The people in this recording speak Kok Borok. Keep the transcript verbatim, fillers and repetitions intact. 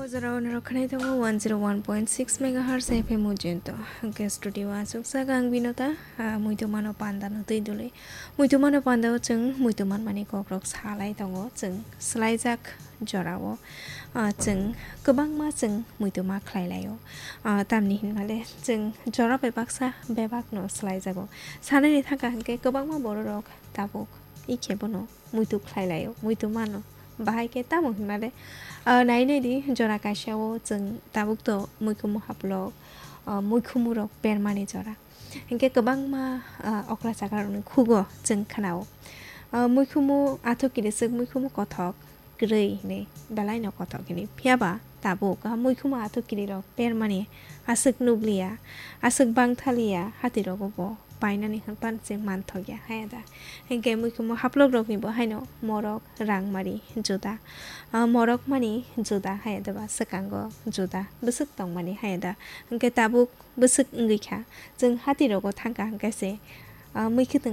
Jora o norok khwnai tongo one zero one point six megahertz F M Ujjainto. Hwnkhe studio o achukjak ang Binota, ah, muitu mano panda no twi dului. Muitu mano panda o chwng muitu manmani kokrok salai tongo, chwng swlaijak jora o, ah, chwng kwbangma chwng muitu ma khlai lai o. Ah, tamni hinmale chwng jora bai baksa bebak no swlaijago. Sanani thangkha hwnkhe kwbangma bororok tabuk ikhe bono muitu khlai lai o, muitu mano. Bahai khe tamo hinmale, ah, nai nai di, jora kaisa o chwng tabuk to muikhumu haplok, ah, muikhumu rok permani jora. Hinkhe kwbangma, ah, okra chakra rokni khugo chwng khna o. Ah, muikhumu athuk kiriswk, muikhumu kothok kwrwi hinwi belai no kothok hinwi. Phiya ba tabuk, ah, muikhumu athuk kiri rok permani aswk nukliya, aswk bangthaliya, hati rogo bo painani hwnpan se manthokya haya da. Hinkhe muikhumu haplok rokni bo haino morok rangmari juda, ah, morok mani juda haya da ba swkango juda bwswk tongmani haya da. Hinkhe tabuk bwswk wngwi kha, chwng hati rogo thangkha hinkhe se, ah, muikhwtwng